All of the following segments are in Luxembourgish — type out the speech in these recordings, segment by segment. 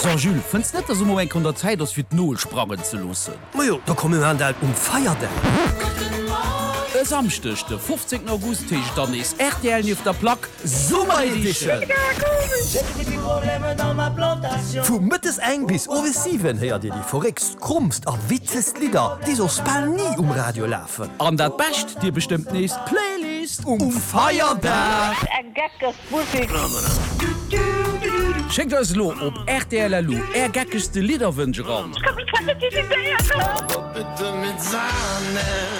So Jules, fënns net dass emol eng Kéier un der Zäit ass fir d'Nol sprangen ze loossen? Majo, da komm mir maan dat um Feierdag. E Samschdeg de 15 August heescht et dann nees rtl nieft der Plack Summer Edition! Vu mëttes eng bis owes 7 héiert dir déi verréckst, krommst a witzegst Lidder, déi soss bal ni um Radio lafen. An dat Bescht, dir bestëmmt nees d'Playlist um Feierdag! Eng geckeg Musik. Schéckt eis elo op rtl.lu är geckegste Lidderwënsch eran.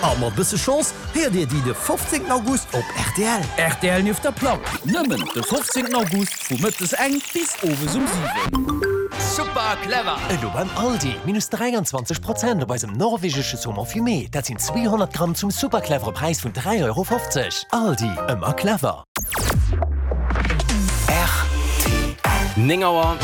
A mat bësse Chance héiert dir déi de 15 August op rtl. Rtl nieft der Plack, nëmmen de 15 August vu mëttes eng bis owes um 7. Super clever! Elo beim Aldi, minus 23 Prozent op eisem norwegesche Saumon fumé, dat sinn 200 Gramm zum super clevere Präis vun 3,50 Euro. Aldi, ëmmer clever! Rtl. 9 Auer.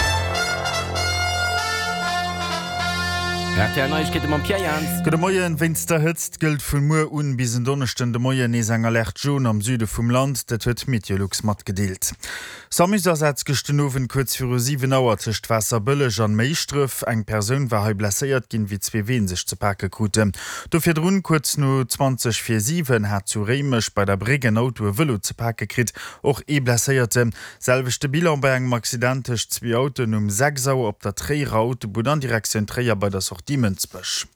Rtl Neiegkeete mam Pierre Jans. Gudde Moien. Wéinst der Hëtzt gëllt vu muer un bis en Donneschden de Moien nees eng Alerte jaune am Süde vum Land. Dat huet Meteolux matgedeelt. Samus-Asaz gëscht den Owend kuerz viru 7 Auer tëscht Waasserbëlleg an Méischdref. Eng Persoun war hei blesséiert ginn, wéi zwee Ween sech ze pake kruten. Do virdrun, kuerz no 20 vir 7, hat zu Réimech bei der Bréck en Auto e Vëlo ze pake kritt, och ee Blesséierten. Selwechte Bilan bei engem Accident tëscht zwee Autoen um 6 Auer op der Tréierer Autobunn an Direktioun Tréier bei der Sortie Mënsbech.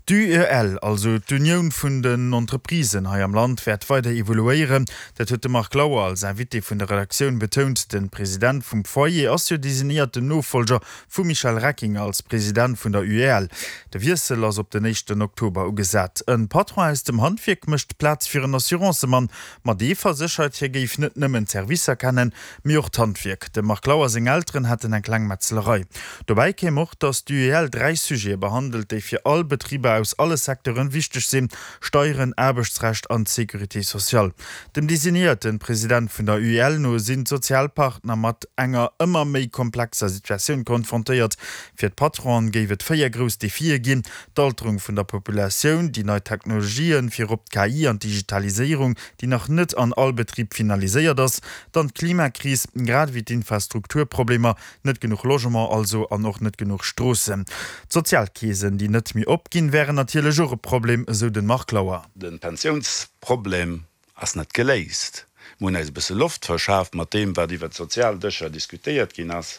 D'UEL, also d'Unioun vun den Entreprisen hei am Land, wäert weider evoluéieren. Dat huet de Marc Lauer als Invité vun der Redaktioun betount. De President vum Foyer ass jo designéierten Nofollger vum Michel Reckinger als President vun der UEL. De Wiessel ass op den éischten Oktober ugesat. E Patron aus dem Handwierk mécht Plaz fir en Assurancemann. Ma dee verséchert, hie géif net nëmmen d'Servicer kennen, mee och d'Handwierk. Dem Marc Lauer seng Elteren hätten eng kleng Metzlerei. Dobäi kéim och, datt d'UEL 3 Sujete behandelt, déi fir all Betriber aus alle Secteuren wichteg sinn, Steieren, Aarbechtsrecht an d'Sécurité sociale. Dem designéierte President vun der UEL no sinn d'Sozialpartner mat enger ëmmer méi komplexer Situatioun konfrontéiert. Fir d'Patronen géif et 4 grouss Defie ginn, d'Alterung vun der Populatioun, déi nei Technologien, virop d'KI an d'Digitaliséierung, déi nach net an all Betrib finaliséiert ass, dann d'Klimakris, grad ewéi d'Infrastrukturproblemer, net genuch Logement also an och net genuch Stroossen. D'Sozialkeesen, déi net méi opginn, wären natierlech och e Problem, esou den Marc Lauer. De Pensiounsproblem ass net geléist. Mir hunn eis e bësse Loft verschaaft mat deem, wat iwwert d'Sozialdëscher diskutéiert ginn ass.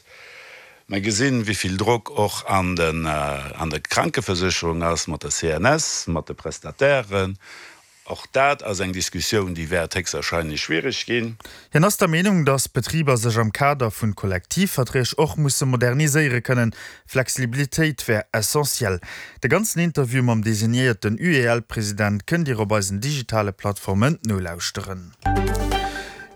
Mer gesinn, wéi vill Drock och an der Krankeversécherung ass, mat der CNS, mat de Prestatairen. Och dat ass eng Diskussioun, déi wäert héchstwahrscheinlech schwierig ginn. Hien ass der Meenung, datt d'Betriber sech am Kader vun Kollektivverträg och musse moderniséiere kënnen. Flexibilitéit wär essentiell. De ganzen Interview mam designéierten UEL-President kënnt Dir op eisen digitale Plattformen nolauschteren.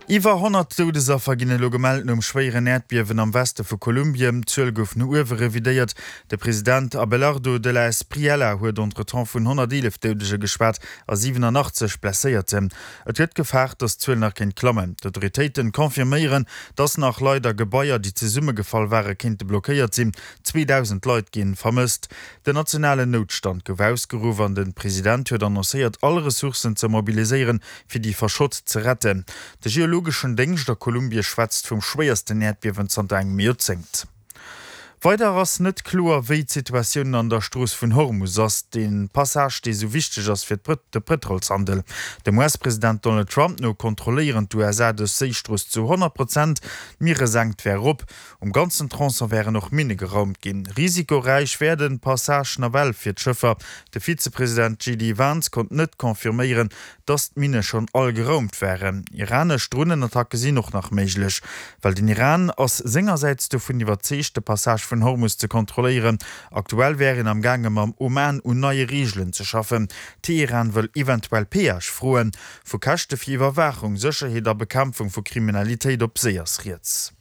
Iwwer 100 Doudesaffer ginn elo gemellt nom schwéieren Äerdbiewen am Weste vu Kolumbien. D'Zuel gouf no uewe revidéiert. De President Abelardo de la Espriella huet entretemps vun 111 Doudege geschwat a 87 Blesséierten. Et gëtt gefaart, datt d'Zuel nach kéint klammen. D'Autoritéiten confirméieren, datt nach Leit a Gebaier, déi zesummegefall ware kéinte blockéiert sinn. 2.000 Leit ginn vermësst. Den nationalen Noutstand gouf ausgeruff an de President huet annoncéiert, all Ressourcen ze mobiliséieren, fir déi Verschott ze retten. De geologeschen Déngscht a Kolumbie schwätzt vum schwéiersten Äerdbiewen zanter engem Joerzéngt. Weider ass net kloer, wéi d'Situatioun an der Strooss vun Hormus ass, dee Passage, dee sou wichteg ass fir de Pëtrolshandel. Dem US-President Donald Trump no kontrolléieren d'USA dës Séistrooss zu 100 Prozent, d'Mieresenkt wär erop. Um ganzen Tronçon wären och Minne geraumt ginn. Risikoräich wär de Passage nawell fir d'Schëffer. De Vizepresident JD Vance konnt net confirméieren, dass d'Minne schonn all geraumt waren. Iranesch Dronenattacke sinn och nach méiglech. Well den Iran ass sengersäits dovun iwwerzeegt, de Passage vun Hormus ze kontrolléieren. Aktuell wär een am gaange mam Oman un neie Reegelen ze schaffen. Teheran wëll eventuell Peage froen. Vu Käschte fir Iwwerwaachung, Sécherheet a Bekämpfung vu Kriminalitéit op Séi ass rieds.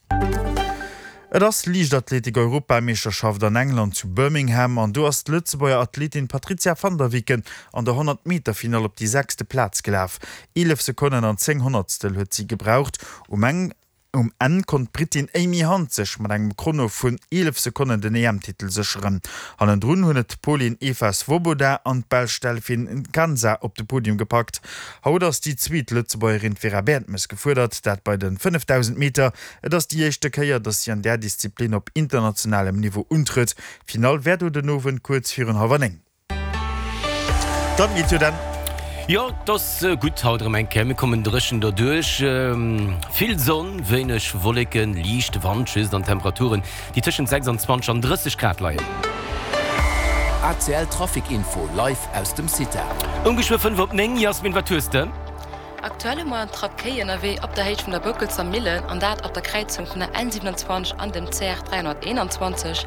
Et ass Liichtathletik-Europameeschterschaft an England zu Birmingham an do ass d'Lëtzebuerger Athletin Patrizia van der Weken an der 100 Meter Finall op déi sechste Plaz gelaf. 11 Sekonnen an 10 Honnertstel huet si gebraucht. Um Enn. Um Enn konnt d'Brittin Amy Hunt sech mat engem Chrono vun 11 Sekonnen den EM-Titel sécheren. Hannendrun hunn et d'Polin Eva Swoboda an d'Belsch Delphine Nkanza op de Podium gepackt. Haut ass déi zweet Lëtzebuergerin d'Vera Bertmes gefuerdert, dat bei de 5000 Meter. Et ass déi éischte Kéier, datt si an där Disziplin op internationalem Niveau untrëtt. D'Finall wär do den Owend kuerz virun hallwer 9. Dann geet jo dann. Jo, 't ass gutt haut erëm eng Kéier. Mir kommen dréchen derduerch. Vill Sonn, wéineg Wolleken, liichte Wand just an Temperaturen, déi tëschent 26 an 30 Grad leien. ACL Trafic Info live aus dem CITA. Um geschwë 5 op 9. Jasmin, wat hues de? Aktuell hu mer en Trapp Kéi ënnerwee op der Héicht vun der Boukelsser Millen, an dat ab der Kräizung vun der N 27 an dem CR 321.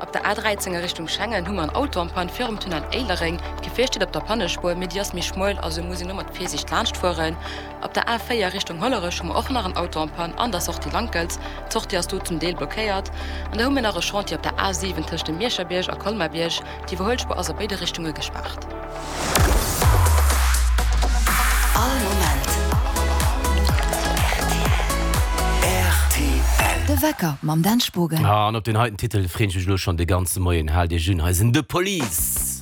Op der A 13 a Richtung Schengen hu mer en Auto en panne virum Tunnel Éilereng. D'Gefier steet op der Pannespuer, mee déi ass méi schmuel, also muss een do mat Virsiicht laanscht fueren. Op der A 4 Richtung Hollerech hu mer och nach en Auto en panne an der Sortie Lankels. D'Sortie ass do zum Deel blockéiert. An da hu mir nach e Chantier op der A 7 tëscht dem Mierscherbierg a Colmar-Bierg. D'Iwwerhuelspuer ass a béide Richtunge gespaart. All Moment rtl. De Wecker mam Dan Spogen. An op deen heiten Titel freen ech mech elo schon de ganze Moien. Haalt iech un, hei sinn The Police!